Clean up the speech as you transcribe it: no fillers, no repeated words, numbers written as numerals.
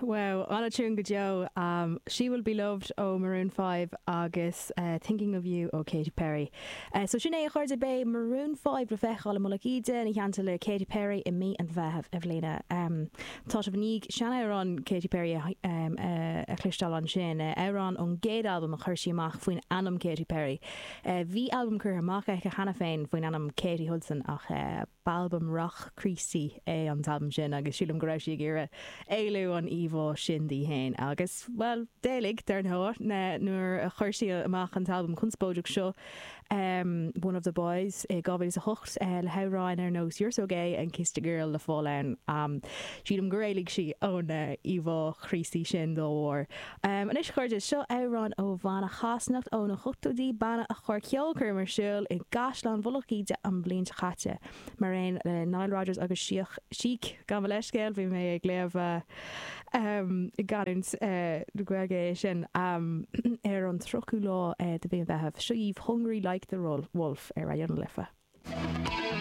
Wow, an-tiún go deo. She Will Be Loved ó Maroon 5 agus Thinking of You ó Katy Perry. So sin é a chairde, beidh Maroon 5 le feiceáil i Mullach Íde ina theannta le Katy Perry i mí an Mheithimh i mbliana. Tá sibh i ndiaidh seanamhrán Katy Perry a chloisteáil ansin, amhrán ón gcéad albam a chuir sí amach faoin ainm Katy Perry. Bhí albam curtha amach aici cheana féin faoin ainm Katy Hudson ach b'albam rac Críostaí é an t-albam sin agus sílim go raibh sí ag iarraidh éalú ón íomhá sin di féin agus, bhuel, d'éalaigh, dar ndóigh, nuair a chuir sí amach an t-albam conspóideach seo, One of the Boys, i 2008 le hamhráin ar nós You're So Gay and Kissed a Girl le fáil ann. Sílim gur éalaigh sí ón íomhá Chríostaí sin dá bharr. Anois, a chairde, seo amhrán ó bhanna Shasanach ó na hochtóidí, banna a chuir ceolchoirm ar siúl i gCaisleán Mhullach Íde an bhliain seo caite, mar aon le Nile Rodgers agus Chic, gabh mo leithscéal, bhí mé ag léamh i gcanúint na Gaeilge é sin, ar an 30ú lá de mhí an Mheithimh. Seo dhaoibh Hungry Like the Wolf ar Raidió na Life.